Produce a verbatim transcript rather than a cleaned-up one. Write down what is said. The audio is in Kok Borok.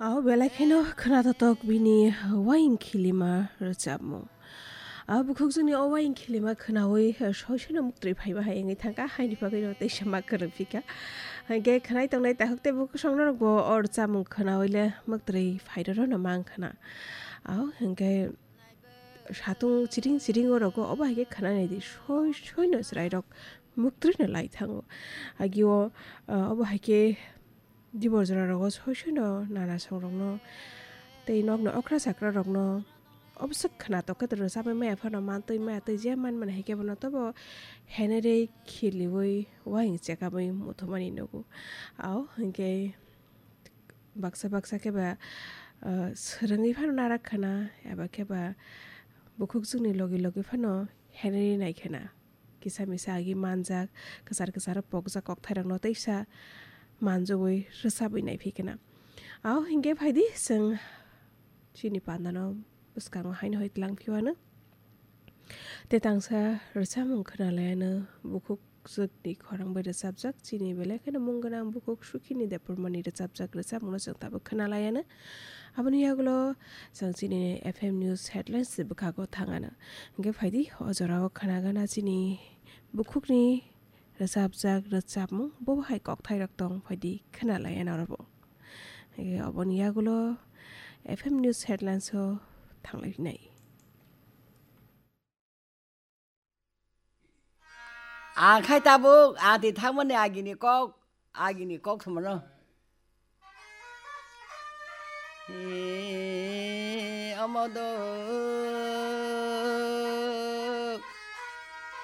Aw belai kheno khwnathok bini waying khilima rwchapmung. Aw bukhukjwkni o waying khilima khwnawi soisano muktwi phaiba hai wngwi thangkha, haini bagwino teisa ma kwrwngphikha. Hinkhe khwnai tongnai takhuk tei bukhuk songnorokbo o rwchapmung khwnawi le muktwi phairwrwno mang khwna. Aw hinkhe satung chiring chiring o rogo obo hai khe khwnanai di, soi soino chwrairok muktwino lai thango. Agio, ah, obo hai khe dibor jora rogo soi soino nana songrokno tei nokni okra chakra rokno obwswk khwnatok khe rwchapwi maya phano mantwi maya twi je man mani hai khe bono tobo henere khiliwi waying chekabwi muthumani nugo. Aw hinkhe baksa baksa khe ba, ah, swrwngwi phano narak khwna, eba khe ba bukhukjwkni logi logi phano henri nai khwna. Kisa misa agi manjak, kwchar kwcharo pokjak kokthairokno teisa manjogwi rwchabwi nai phi khwna. Aw hinkhe phaidi chwng chini pandano bwskango haino hai tlang phiwano. Tei tangsa rwchapmung khwna laiano bukhuk jwkni khorang bai rwchapjak chini belai kheno mung gwnang bukhuk Sukhini Debbarmani rwchapjak rwchapmungno chwng tabuk khwna laiano. Aboni yagulo chwng chini F M News headlines ni bwkhago thangano. Hinkhe phaidi o jorao khwna gana chini bukhukni rwchapjak rwchapmung bo hai kokthairok tong phaidi khwna laiano orobo. Hinkhe oboni yagulo F M News headlines o thanglai nai. Ang khai tabuk, ang twi thangmani agini kok, agini kok samono. He, omo do.